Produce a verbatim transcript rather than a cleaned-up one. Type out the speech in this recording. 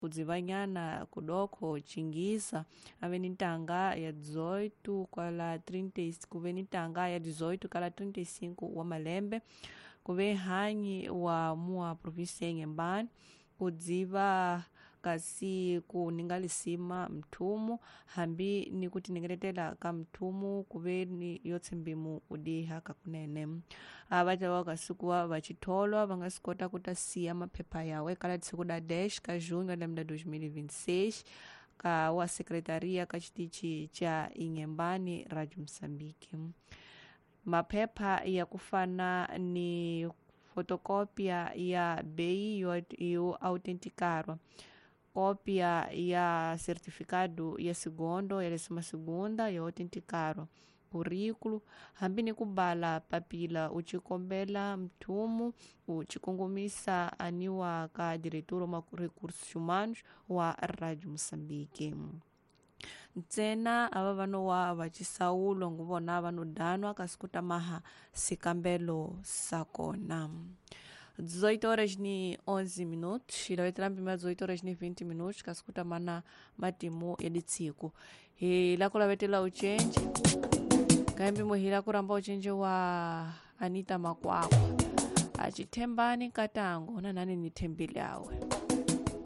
Kudzivanyana kudoko Chingisa ave ni ntanga ya dezoito kala trinta kuve ni ntanga ya dezoito kala trinta e cinco wa malembe, kuve hanyi wa mua província ya Inhambane, kudziva kasi kuninga lisima mthumu hambi ni kutinengeletela ka mthumu kuve ni yo tshembimu udiha kakunene. Ava tava kasi kuva vachitholwa va nga swi kota ku ta siya maphepha yawe kala siku da dez ka junho lembe la dois mil e vinte e seis ka wa secretaria ka xitichi cha Inhambane Radio Moçambique. Maphepha ya ku fana ni fotocópia ya bei yo, yo autenticarwa, cópia ya certificado ya segundo ya décima segunda yo autenticarwa, currículo, hambi ni ku bala papila u xikombela mthumu u xikongomisa aniwa ka diretor wa recursos humanos wa Radio Moçambique. Ntsena ava va no wa va xisawulo nguvona va no danwa kasi ku ta maha xikambelo sa kona. dezoito horas ni onze minutos, ilavetela mpimo ya dezoito horas ni vinte minutos kasi ku ta mana matimu ya ditsiku. Hi la ku lavetela uchenje ka mpimo hi la ku ramba uchenje wa Anita Makwakwa achithembani nkatango na nani ni thembile awe.